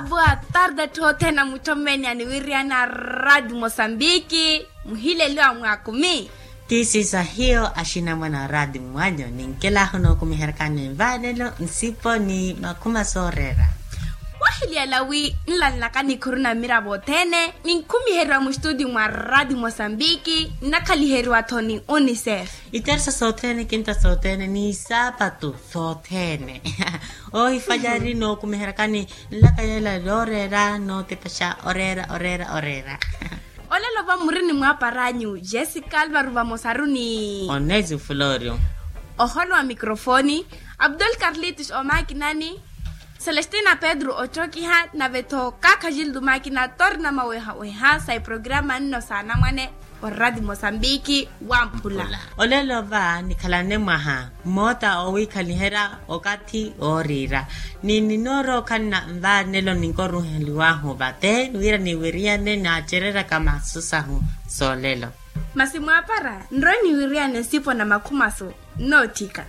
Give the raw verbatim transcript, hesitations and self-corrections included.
Boa tarde atthu othene a mutthommeni aniwiriyana a radio mosambiki. Muhileliwa mwaakumi. Tisisahiyo axinamwana a radio mwanyu ninkelahu nookumiheryakani nvaanelo nsipo ni makhuma sooreera. Wahiliyala wi nlanlaka nikhuru na mmiravo othene ninkhumiheriwa mustutio mwa radio mosambiki nnakhaliheriwa-tho ni unicef. Iteresa sothene kinta sothene ni saapatu sothene. Ohifalyari nookumiheryakani nlaka yeela yooreera nootipaxa oreera oreera oreera. Olelo va muri ni mwaaparanyu jessica alvaro vamosaru ni onesi florio. Oholo wa microfoni abdul carlitos omakinani. Celestina pedro ocokiha nave-tho kaakha jildo makina torna mawehaweha sa iprograma nno saanamwane. Orati mosambiki wamphula. Olelo va nikhalane mwaha mmoota owiikhaliherya okathi wooriira ni ninoorookhanna nvaanelo ninkoruheliwahu vate wira niwiriyane naacereryaka masu sahu soolelo. Masi mwaapara nrowe niwiriyane nsipo na makhumasu nnootthika.